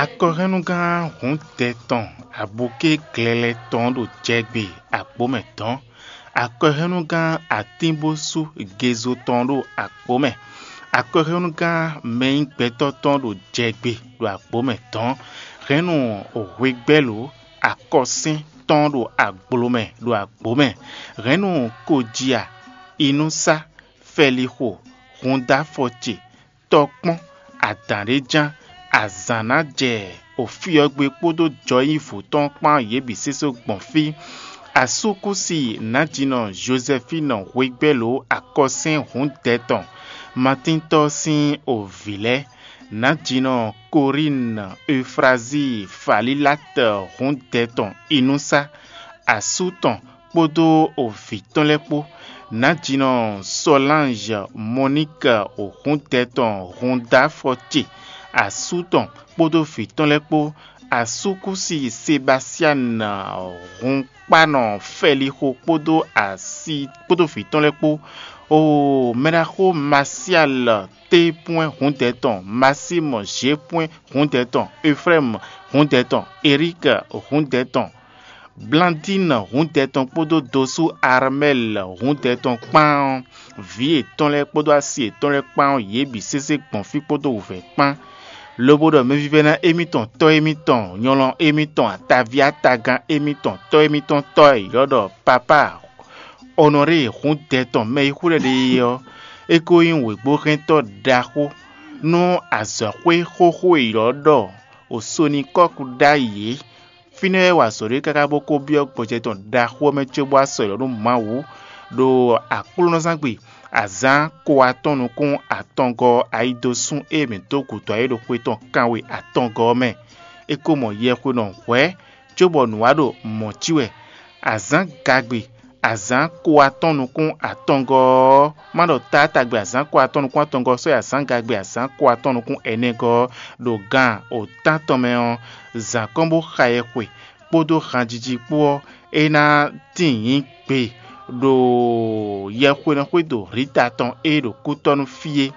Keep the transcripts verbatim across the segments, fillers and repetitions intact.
Akɔhɛnnugán hǔndɛ tɔn abukí glɛlɛ tɔn ɖo jɛgbe agbǒ mɛ dɔ̌n. Akɔhɛnnugán atínbósú gezo tɔn ɖo agbǒ mɛ. Akɔhɛnnugán mɛnyígbɛtɔ́ tɔn ɖo jɛgbe ɖo agbǒ mɛ dɔ̌n. Hɛ̌nnu hwegbɛ́lǒ akɔsín tɔn ɖo aglo mɛ ɖo agbǒ mɛ. Hɛ̌nnu kojia, inúsá, fɛlixo, hundáfɔ ce, tɔkpɔ́n, adǎn ɖé ján, azǎn ná jɛ ofyɔ́gbé kpódó jɔyívǔ tɔn kpán yě bǐ sésó gbɔn fí. Asúkúsi nǎjínɔ Jozɛfínu hwegbɛ́lǒ akɔsɛ́n hǔndɛ tɔn, Matíntɔ́ sín ovǐ lɛ́ɛ, nǎjínɔ Korínu, Eufrazíi, Falílatɔ hǔndɛ tɔn, inúsá, asú tɔn kpódó ovǐ tɔn lɛ́ɛ kpó, nǎjínɔ Sɔlánzɔ, Mɔníka, hǔndɛ tɔn, húndáfɔ ce, asú tɔn kpódó vǐ tɔn lɛ́ɛ kpó, asúkúsi Sebasianu, hunkpánɔ Fɛlixo kpódó asi kpódó vǐ tɔn lɛ́ɛ kpó, o mɛɖaxó Masialɔ, Tépwɛ́n hǔndɛ tɔn, Masímɔ, Zépwɛ́n hǔndɛ tɔn, Eflɛ́mu hǔndɛ tɔn, Eríka hǔndɛ tɔn, Blandínu hǔndɛ tɔn kpódó dosú Armɛ́li hǔndɛ tɔn kpán ɔ́, vǐ yětɔn lɛ́ɛ kpódó asi yětɔn lɛ́ɛ kpán ɔ́, yě bǐ sésé gbɔn fí kpódó wǔvɛ́ kpán, lobo ɖɔ mɛvívɛ́ná émítɔn, tɔ́ émítɔn, nyɔlɔn émítɔn, ataví atagán émítɔn, tɔ́ émítɔn tɔ́ e è ylɔ́ ɖɔ Papá Ɔnɔɖée hǔndɛ tɔn mɛ e xwlɛ́ ɖe é ɔ́, é ko nyí wěgbóhɛntɔ́ ɖaxó nú azɔ̌xwé xóxó e è ylɔ́ ɖɔ Osonikɔ́ku ɖ'ayǐ é. Fínɛ́ wɛ wa azɔ̌ ɖé káká bó ko byɔ́ gbɔjɛ́ tɔn ɖaxó ɔ́ mɛ cóbó wá sɔ́ yě nú Mawu ɖo aklúnɔzángbe azǎn ko atɔ́ɔ́n nukún atɔngɔ́ ɔ́ ayidosún e mǐ dó gǔdo ayé ɖo xwe tɔn kanwe atɔngɔ́ ɔ́ mɛ. É ko mɔ yɛxwénɔ hwɛ̌ cóbɔ nǔ wa ɖo mɔ̌ cí wɛ. Azǎn gagbe azǎn ko atɔ́ɔ́n nukún atɔngɔ́ ɔ́, má ɖɔ taátagbe azǎn ko atɔ́ɔ́n nukún atɔngɔ́ ɔ́ sɔ́ yi azǎn gagbe azǎn ko atɔ́ɔ́n nukún ɛnɛgɔ́ ɔ́ ɖo gan wǒtántɔn mɛ ɔ́, zǎn kɔn bó xa yɛxwe kpódó hanjiji kpó ɔ́, é ná tíin nyǐ gbe ɖo yɛxwenɔxwédo Hlita tɔn e ɖo kútɔ́ nú fí é.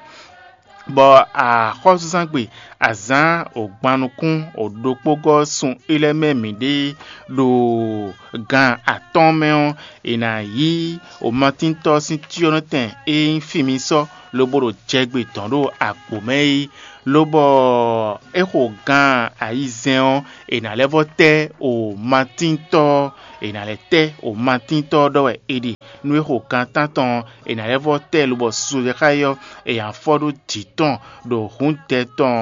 Bɔ axɔ́súzángbe azǎn ògbannukún òɖokpógɔ́ sun é lɛ́ɛ mɛ mǐɖée ɖo gan atɔ́ɔ́n mɛ ɔ́, è nǎ yí omatíntɔ́ sín cyɔ́nɔtɛn e nyí fí mì sɔ́ lobo ɖo jɛgbe dɔ̌n ɖo agbǒ mɛ é, lobɔ é xo gan ayizɛ́n ɔ́, è nǎ lɛ́ vɔ́ tɛ́ omatíntɔ́ ɔ́, è nǎ lɛ́ tɛ́ omatíntɔ́ ɔ́ ɖɔ wɛ è ɖe. Nú é xo gan tántɔn ɔ́, è nǎ lɛ́ vɔ́ tɛ́ lobɔ susu ɖé xá é ɔ́, è nǎ fɔ ɖó jǐ tɔn ɖo hǔndɛ tɔn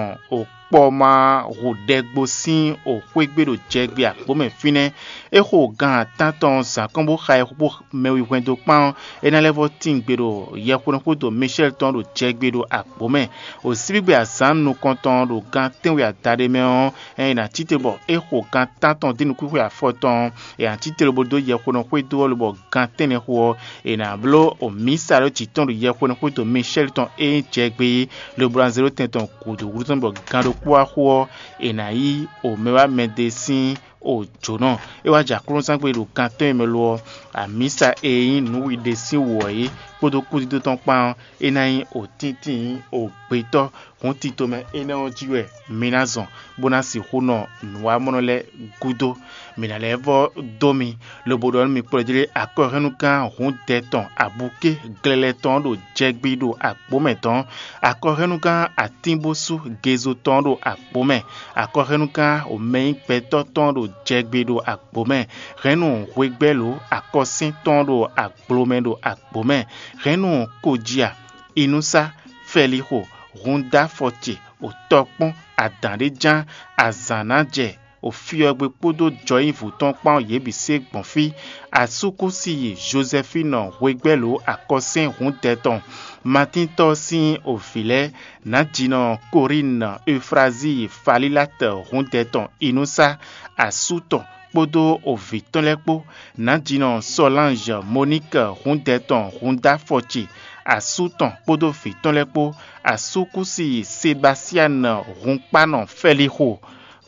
kpɔ́ má hu ɖɛgbo sín xwé gbe ɖo jɛgbe agbǒ mɛ fínɛ́. É xo gan atán tɔn zǎn kɔn bó xa ɛ xó mɛ wi hwɛndo kpán ɔ́, é ná lɛ́ vɔ́ tín gbe ɖo yɛxwenu xwédo Mishɛ́li tɔn ɖo jɛgbe ɖo agbǒ mɛ. Wǒsíbígbe azǎn nukɔntɔn ɖo gan tɛ́nwe adaɖé mɛ ɔ́, ɛ è nǎ cí te bɔ é xo gan tántɔn dín nukúnxwe afɔtɔn ɔ́, è nǎ cí te lobo dó yɛxwenu xwédo ɔ́ lobɔ gan tɛ́nnɛ xo ɔ́, è nǎ bló mǐsa ɖó jǐ tɔn ɖo yɛxwenu xwédo Mishɛ́li tɔn e nyí jɛgbe é, lobo ná zé ɖó tɛn tɔn gǔdo wútu tɔn bɔ gan ɖokpó wá xo ɔ́, è nǎ yí omɛ wá mɛɖé sín o jǒnɔ. É wá jɛ aklúnɔzángbe ɖo gan tɔn e mɛ lo ɔ́, amǐsa e nyí nǔwiɖe sín wǔ ɔ́ é kpódó kúdídó tɔn kpán ɔ́, é ná nyí òtíntín ògbétɔ́. Hǔn tito mɛ énɛ́ ɔ́ jí wɛ mi ná zɔn, bó ná sixú nɔ nǔwamɔnɔ lɛ́ɛ gúdo. Mǐ ná lɛ́ vɔ́ dó mi, lobo ɖɔ nú mi kplɔ́jlé akɔhɛnnugán hǔndɛ tɔn abukí glɛlɛ tɔn ɖo jɛgbi ɖo agbǒ mɛ tɔn, akɔhɛnnugán atínbósú gezo tɔn ɖo agbǒ mɛ, akɔhɛnnugán omɛnyígbɛtɔ́ tɔn ɖo jɛgbi ɖo agbǒ mɛ, hɛ̌nnu hwegbɛ́lǒ akɔsín tɔn ɖo aglo mɛ ɖo agbǒ mɛ, hɛ̌nnu kojia, inúsá, fɛlixo, húndáfɔ ce, òtɔkpɔ́n, adǎn ɖé ján, azǎn ná jɛ, òfyɔ́gbé kpódó jɔyívǔ tɔn kpán yě bǐ se gbɔn fí. Asúkúsi Jozɛfínu hwegbɛ́lǒ akɔsɛ́n hǔndɛ tɔn, Matíntɔ́ sín ovǐ lɛ́ɛ, nǎjínɔ Korínu, Eufrazíi, Falílatɔ hǔndɛ tɔn, inúsá, asú tɔn kpódó ovǐ tɔn lɛ́ɛ kpó, nǎjínɔ Sɔlánzɔ, Moníka hǔndɛ tɔn, húndáfɔ ce, asú tɔn kpódó vǐ tɔn lɛ́ɛ kpó, asúkúsi Sebasianu hunkpánɔ Fɛlixo,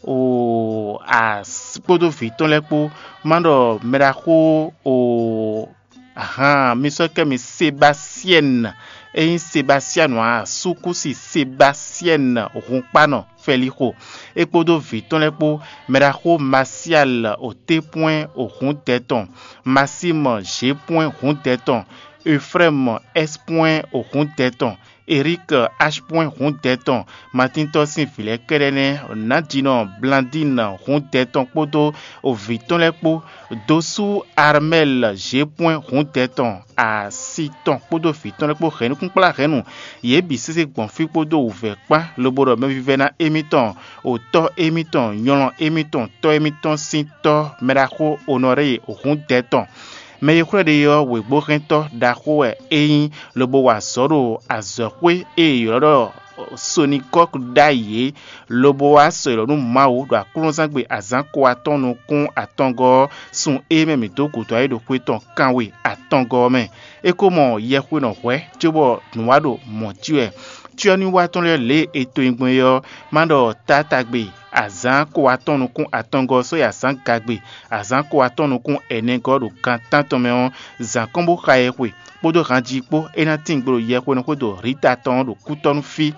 o as kpódó vǐ tɔn lɛ́ɛ kpó, má ɖɔ mɛɖaxó o ahan mi sɔ́ kɛ mi Sebasiɛnu, é nyí Sebasianu ǎ, Sukusi Sebasiɛ́ni hunkpanɔ Fɛlixo, é kpódó vǐ tɔn lɛ́ɛ kpó, mɛɖaxó Masiali Otépwɛ́n Ohǔndɛtɔn, Masímɔ Zhěpwɛ́n Hǔndɛtɔn, Eflɛ́mu Ɛ́spwɛ́n Ohǔndɛtɔn, Eríki Aspwɛ́n Hǔndɛtɔn, Matíntɔ́ sín vǐ lɛ́ɛ kɛ́ɖɛ́ nɛ́, Nǎjinɔ Blandíni Hǔndɛtɔn kpódó vǐ tɔn lɛ́ɛ kpó, Dosú Armɛ́li Zhěpwɛ́n Hǔndɛtɔn, asi tɔn kpódó vǐ tɔn lɛ́ɛ kpó hɛn nukúnkplá hɛ̌nnu. Yě bǐ sésé gbɔn fí kpódó wǔvɛ́ kpán, lobo ɖɔ mɛvívɛ́ná émítɔn, otɔ́ émítɔn, nylɔ émítɔn, tɔ́ émítɔn sín tɔ́, mɛɖaxó Onorée Hǔndɛtɔn. Mɛ e xwlɛ́ ɖe ɔ́, wěgbóhɛntɔ́ ɖaxó wɛ é nyí, lobo wa azɔ̌ ɖo azɔ̌xwé e è ylɔ́ ɖɔ Sonikɔ́ku ɖ'ayǐ é, lobo wá sɔ́ ylɔ́ nú Mawu ɖo aklúnɔzángbe azǎn ko atɔn nukún atɔngɔ́ ɔ́, sun e mɛ mǐ dó gǔdo ayé ɖo xwé tɔn kanwe atɔngɔ́ ɔ́ mɛ. É ko mɔ yɛhwenɔ hwɛ̌, cóbɔ nǔ wa ɖo mɔ̌ jí wɛ. Cyɔ́nywíwa tɔn lɛ́ɛ lě e è to nyi gbɔn é ɔ́, má ɖɔ taátagbe azǎn ko atɔn nukún atɔngɔ́ ɔ́ sɔ́ yi azǎn gagbe, azǎn ko atɔn nukún ɛnɛgɔ́ ɖo gan tántɔn mɛ ɔ́, zǎn kɔn bó xa ɛ xwe, kpódó hanjí kpó, é ná tín gbe ɖo yɛhwenɔ xwédo Rita tɔn ɔ́ ɖo kútɔ́ nú fí.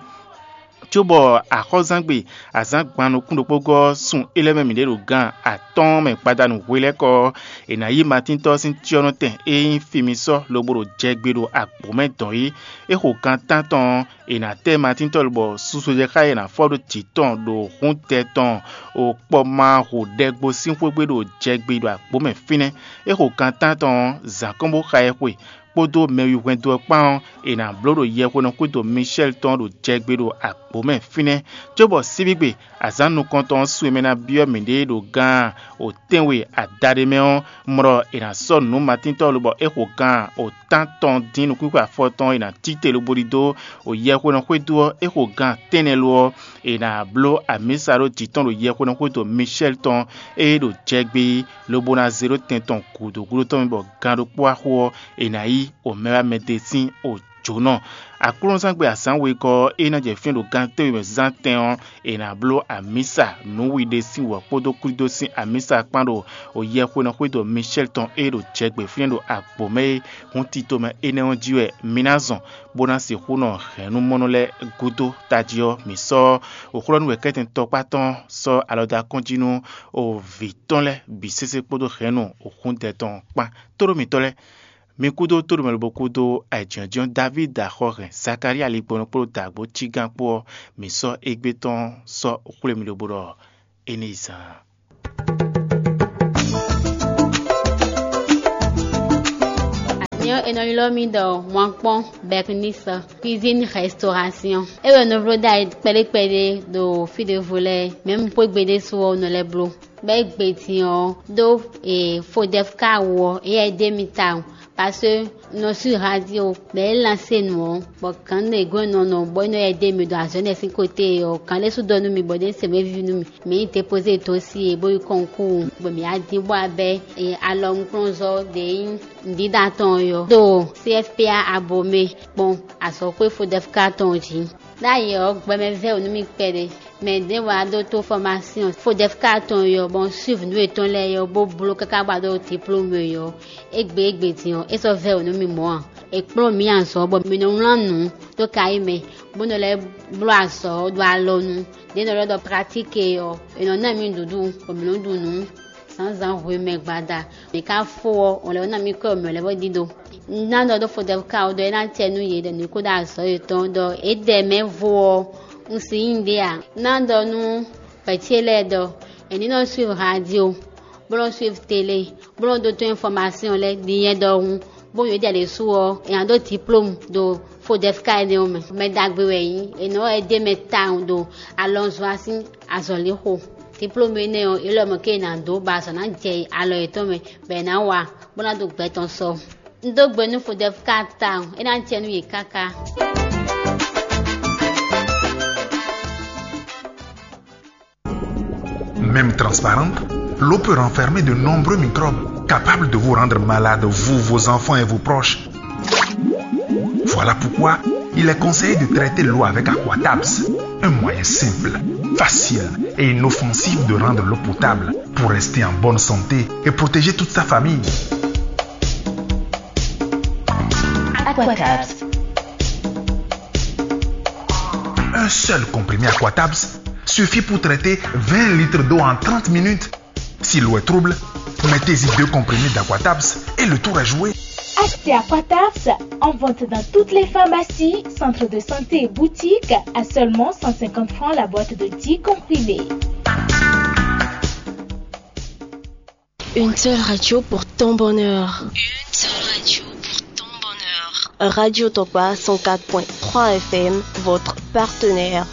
Cóbɔ axɔ́zangbe azǎn gban nukún ɖokpó gɔ́ ɔ́, sun é lɛ́ mɛ mǐ ɖe ɖo gan atɔ́ɔ́n mɛ gbadanu hwelɛ́kɔ ɔ́, è nǎ yí Matíntɔ́ sín cyɔ́nɔtɛn e nyí Fimisɔ́ lobo ɖo jɛ gbe ɖo agbǒ mɛ dɔn é. É xo gan tántɔn ɔ́, è nǎ tɛ́ Matíntɔ́ lobɔ susu jɛ xá e è nǎ fɔ ɖó jǐ tɔn ɖo hǔntɛ tɔn o kpɔmáhu ɖɛgbo sín xwé gbe ɖo jɛ gbe ɖo agbǒ mɛ fínɛ́. É xo gan tántɔn ɔ́, zǎn kɔn bó xa ɛ xwe, kpódó mɛ wi hwɛndo ɔ́ kpán ɔ́, è nǎ bló ɖo yɛhwenɔ xwédo Mishɛ́li tɔn ɖo jɛ gbe ɖo agbǒ mɛ fínɛ́, cóbɔ síbígbe azǎn nukɔntɔn ɔ́ su e mɛ ná byɔ́ mǐɖée ɖo gan otɛ́nwe adaɖé mɛ ɔ́, mlɔ è nǎ sɔ́ nǔ matíntɔ́ lobɔ é xo gan otán tɔn dín nukúnxwe afɔ tɔn e è nǎ cíte lobo ɖidó o yɛhwenɔ xwédo ɔ́, é xo gan tɛ́nnɛ lo ɔ́, è nǎ bló amǐsa ɖó jǐ tɔn ɖo yɛhwenɔ xwédo Mishɛ́li tɔn e ɖo jɛ gbe é, lobo ná zé ɖó tɛn tɔn gǔdo gúdo tɔn mɛ bɔ gan ɖokpó wá xo ɔ́, è nǎ yí omɛwámɛdé sín ojǒnɔ. Aklúnɔzán gbe azǎn wegɔ́ ɔ́, é ná jɛ fínɛ́ ɖo gan tɛ́nwe mɛ zán tɛn ɔ́, è nǎ bló amǐsa nǔwiɖe sín wǔ ɔ́ kpódó kwídó sín amǐsa kpán ɖo yɛhwenɔ xwédo Mishɛ́li tɔn e ɖo jɛ gbe fínɛ́ ɖo agbǒ mɛ é. Hǔn tito mɛ énɛ́ ɔ́ jí wɛ mi ná zɔn, bó ná sixú nɔ hɛ̌nnumɔnɔ lɛ́ɛ gúdo tají ɔ́, mǐ sɔ́ òxlɔ́nú wɛ̌kɛ́tɛn tɔkpá tɔn sɔ́ alɔ dó akɔ́n jí nú vǐ tɔn lɛ́ɛ bǐ sésé kpódó hɛ̌nnu òxúndɛ tɔn kpán. Tóɖó mitɔ́ lɛ́ɛ, mi kúdó tóɖomɛ lobo kúdó ayǐjínjɔ́n Davídi axɔ́hɛn Zakalía ligbɔnɔ kpódó dǎgbó cígán kpó ɔ́, mǐ sɔ́ égbé tɔn sɔ́ xwlé mi lobo ɖɔ é ní yi zaan. Nyɔ̌ è nɔ ylɔ́ mì ɖɔ Mwankpɔ́n Bɛknisɔ, cuisine restauration. É wɛ nɔ bló ɖ'ayǐ kpɛɖé kpɛɖé ɖo fí ɖěvo lɛ́ɛ, mɛ̌ un xwé gbe ɖésú ɔ́ nɔ lɛ́ bló. Bɔ é gbe din ɔ́ ɖó Fodɛfka wú ɔ́, éyɛ́ é ɖe mì tawun, parce que un nɔ sú radio, bɔ é lansé nǔ ɔ́, bɔ gǎn ɖě gɔ́n nɔ nɔ bɔ é nɔ yɛ ɖe mì ɖo azɔ̌ énɛ́ sín côté ɔ́, gǎn ɖé sú ɖɔ nú mì bɔ ɖé se wéví nú mì. Mǐ yi dépozé dosie bó yi kɔnkúu, bɔ mǐ wá dín bó wá bɛ́ alɔnukplɔ́nzɔ́ ɖě nyí nǔɖíɖá tɔn ɔ́ yɔ ɖo C F P A Abomey kpɔ́n azɔ̌xwé Fodɛfka tɔn jí. Ɖ'ayǐ ɔ́, gbɛmɛ vɛ́ wǔ nú mì kpɛɖé. Mɛ ɖěvo wá ɖó tó fɔmásyɔn Fodɛfka tɔn ɔ́, bɔ un suivi nǔ yětɔn lɛ́ɛ ɔ́, bó bló káká bó wá ɖó diplôme ɔ́. Égbé égbé din ɔ́, é sɔ́ vɛ́ wǔ nú mì mɔ̌ ǎ. È kplɔ́n mǐ azɔ̌ bɔ mǐ nɔ wlán nǔ dó kayí mɛ, bó nɔ lɛ́ bló azɔ̌ ɖo alɔnu. Ɖě nɔ ɖɔ ɖɔ pratique ɔ́, è nɔ ná mì nǔɖuɖu, bɔ mǐ nɔ ɖu nǔ zǎnzǎn hwemɛ gbada. Mǐ ka fó ɔ́, ɔn lɛ́ ná mì kɔ́ mǐ lɛ́ vɔ ɖíɖó. Un ná ɖɔ ɖó Fodɛfka ɔ́ ɖɔ é ná acɛ nú yě ɖɔ mǐ kó ɖó azɔ̌ yětɔn ɖɔ é ɖɛ mɛ vo ɔ́, un si nyí ɖé ǎ. Un ná ɖɔ nú vɛ̌ ce lɛ́ɛ ɖɔ è ní nɔ suivre radio, bó nɔ suivre télé, bó nɔ ɖótó information lɛ́ɛ ɖi nyɛ ɖɔhun, bó nyɔ̌ jɛ ɖě su ɔ́, è nǎ ɖó diplôme ɖo Fodɛfka énɛ́ ɔ́ mɛ. Mɛ ɖagbe wɛ é nyí, è nɔ ɛ ɖe mɛ tawun ɖo alɔnzɔ́ sín azɔ̌lixo. Diplôme énɛ́ ɔ́, é lɔ mɔ̌ ké è nǎ dó bɔ azɔ̌ ná jɛ alɔ yětɔn mɛ, bɔ è nǎ wa, bó ná ɖo gbɛ tɔn sɔ. Un dó gbe nú Fodɛfka tawun, é ná jɛ nú yě káká. Même transparente, l'eau peut renfermer de nombreux microbes capables de vous rendre malade, vous, vos enfants et vos proches. Voilà pourquoi il est conseillé de traiter l'eau avec Aquatabs, un moyen simple, facile et inoffensif de rendre l'eau potable pour rester en bonne santé et protéger toute sa famille. Aquatabs. Un seul comprimé Aquatabs suffit pour traiter vingt litres d'eau en trente minutes. Si l'eau est trouble, mettez-y deux comprimés d'Aquatabs et le tour est joué. Achetez Aquatabs en vente dans toutes les pharmacies, centres de santé et boutiques à seulement cent cinquante francs la boîte de dix comprimés. Une seule radio pour ton bonheur. Une seule radio pour ton bonheur. Radio Tokpa cent quatre point trois F M, votre partenaire.